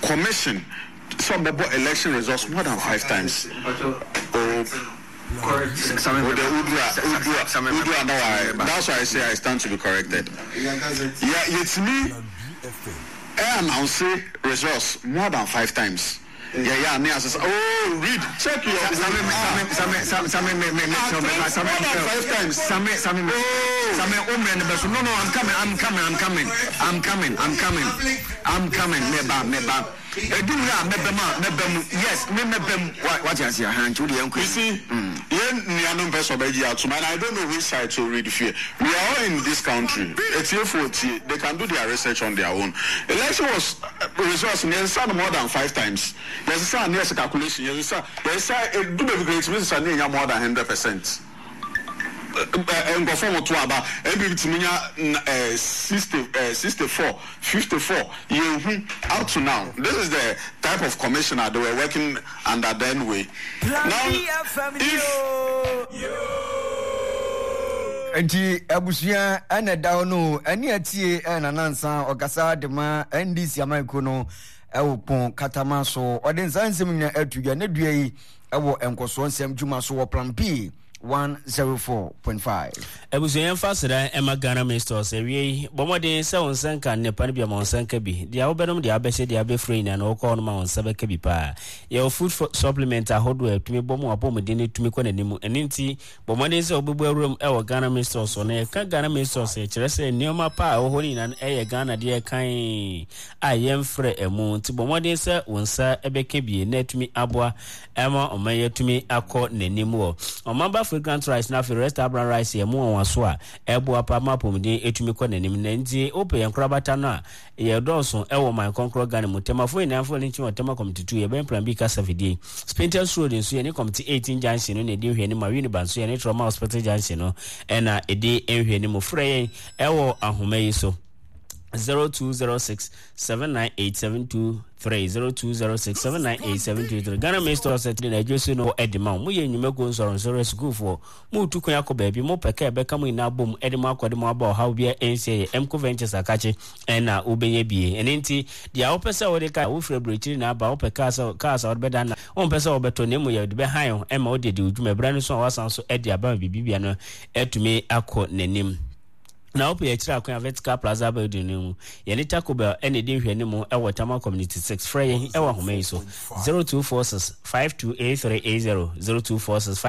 commission sɛ ɔbɛbɔ election results more than 5 times. Oh, oh, the Udra, Udra, Udra, no, I, that's why I say I stand to be corrected. Yeah, yɛtumi ɛ announce results more than 5 times. Yeah, ne asesa. Oh, read, check your. Same, same, same, same, me, me, me, Ah, same, more than 5 times. Same, same, me, Oh. same, oh, man, no, no, I'm coming, I'm coming, I'm coming, I'm coming, I'm coming, I'm coming, me ba, me ba. Edu na me ba ma, me ba mu. Yes, me me ba mu. What you say? Han, to the uncle. You see, yɛn nuanom pɛ sɛ ɔbɛgye atom and I don't know which side to read fear. We are all in this country. Etiefo tie, they can do their research on their own. Election was results ne yɛsesa no more than 5 times. Yɛsesa ne yɛsɛ calculation, yɛsesa, yɛsesa edu baabi koraa yɛtumi sesa ne yɛnya more than 100%. Nkurɔfoɔ mo to aba, NPP tumi nya 60, 64, 54, yɛnhu up to now. This is the type of commissioner they were working under then way. Now, if Nti abusua ɛna ɛda hɔ no ɛne atie ɛna nansa ɔkasa de ma NDC amankuo no ɛwɔ pɔn katama so ɔde nsa nsɛm nyinaa ato dwa ne dua yi ɛwɔ nkɔsoɔ nsɛm dwuma so wɔ Plan P 104.5. Abusua yɛmfa aseda ɛma Ghana Mistors awie yi bɔ mmɔden sɛ wo nsa nka nnepa no bi ama wo nsa nka bi deɛ wobɛnom deɛ wobɛhyɛ deɛ wobɛfura nyinaa no wokɔ hɔ no ma wo nsa bɛka bi paa yɛwɔ food supplement ahodoɔ a ɛtumi bɔ mu apɔmuden no tumi kɔ n'anim ɛno nti bɔ mmɔden sɛ wobɛbu awuram ɛwɔ Ghana Mistors so na yɛka Ghana Mistors ɛkyerɛ sɛ nneɛma pa a ɛwɔ hɔ no nyinaa no ɛyɛ Ghana deɛ kan a yɛmfrɛ ɛmu nti bɔ mmɔden sɛ wo nsa ɛbɛka bi na atumi aboa ɛma ɔman yi atumi akɔ n'anim wɔ ɔman ba fragrant rice na afei resta brown rice yɛ mu nwanwaso a ɛboa pa ma apɔmuden etumi kɔ n'anim na nti wopɛ yɛn korabata no a yɛ dɔɔso ɛwɔ ɔman kɔnkorɔ Ghana mu tɛmafo nyinaa mfo ne nkyi wɔ Tema Committee 2 yɛbɛn Plan B kasa fidie Spintex Road nso yɛne Committee 18 junction no na ɛdi nhwɛanim a Winneba nso yɛne Trauma Hospital junction no ɛna ɛdi nhwɛanim frɛ yɛn ɛwɔ ahoma yi so 0206 798 723 0206 798 723 Ghana Minister of State na adwo so no ɛde ma wo moyɛ nnwumakuo nsɔrɔnsɔrɔ asukuufoɔ moretu kwan akɔ baabi mopɛ ka ɛbɛka mo nyinaa bom ɛde mo akɔ de mo aba ɔhaw biara ɛnhyɛ yɛ Mco Ventures akakye ɛna wobɛnya bie ɛno nti deɛ wopɛ sɛ wode ka wofiri aburokyiri na aba wopɛ kaa sɛ kaa sɛ wode bɛda na wompɛ sɛ wobɛtɔ na mmom yɛde bɛhan ɛma wode adi wo dwuma ɛberɛ no so a woasan so ɛde aba ma biribibia no atumi akɔ n'anim Na wopɛ akyiri akwan a Vertical Plaza Building no mu. Yɛne Taco Bell na ɛdi nhwɛanimu wɔ Tama Community 6. Frɛ yɛn wɔ ahoma yi so, 0246 528380, 0246.